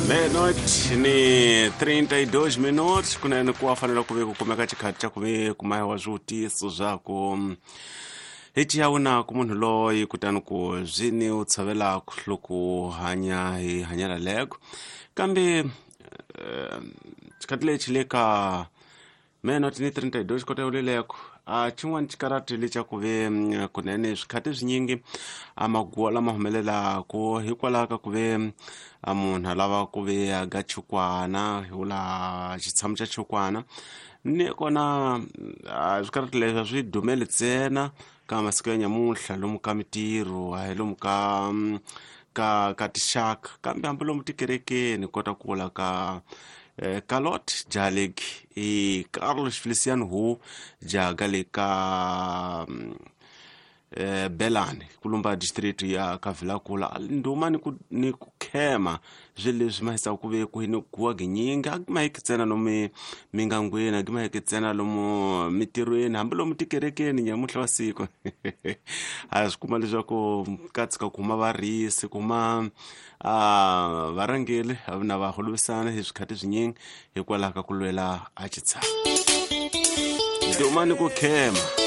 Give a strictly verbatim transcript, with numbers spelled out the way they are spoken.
Meia-noite ni trinta e dois minutos kunene ku wa fanele ku ve ku kumeka xikhathi xa ku ve ku mahiwa swivutiso swa ku hi ciyawu ku munhu loyi kutani ku byi ni u tshovelaku loko hanya hi hanyela leko kambe eh, xikhathi lexi le ka meia-noite ni trinta e dois kota yoleleko a xin'wana xikarati lexa ku ve mm, kunene swikhathi swinyingi a maguwa lama humelelaku hikwalaho ka ku ve a munhu a lava ku ve a ga chukwana hi vula xitshamo xa chukwana ni kona a swikarati leswi a swi dumeli ntsena ka masiku ya nyamuntlha lomu ka mitirho a hi lomu ka mm, ka ka tixaka kambe hambi lomu tikerekeni kota ku vula ka eh, Kalot Jaleg i Carlos Feliciano Hu jaga le ka mm, eh, Belani kulumba district ya Kavilakula nduma ni ku ni ku khema swilo leswi ma hisaka ku ve ku ni guwa ginyingi a ma hiki ntsena lomu mingangweni a ma hiki ntsena lomu mitirhweni hambi lomu tikerekeni nyamuntlha wa siku a swi kuma leswaku ka tshuka ku huma varisi ku huma a varhangeri na va holovisana hi swikhathi swinyingi hikwalaho ka ku lwela a xitshamo nduma ni ku khema.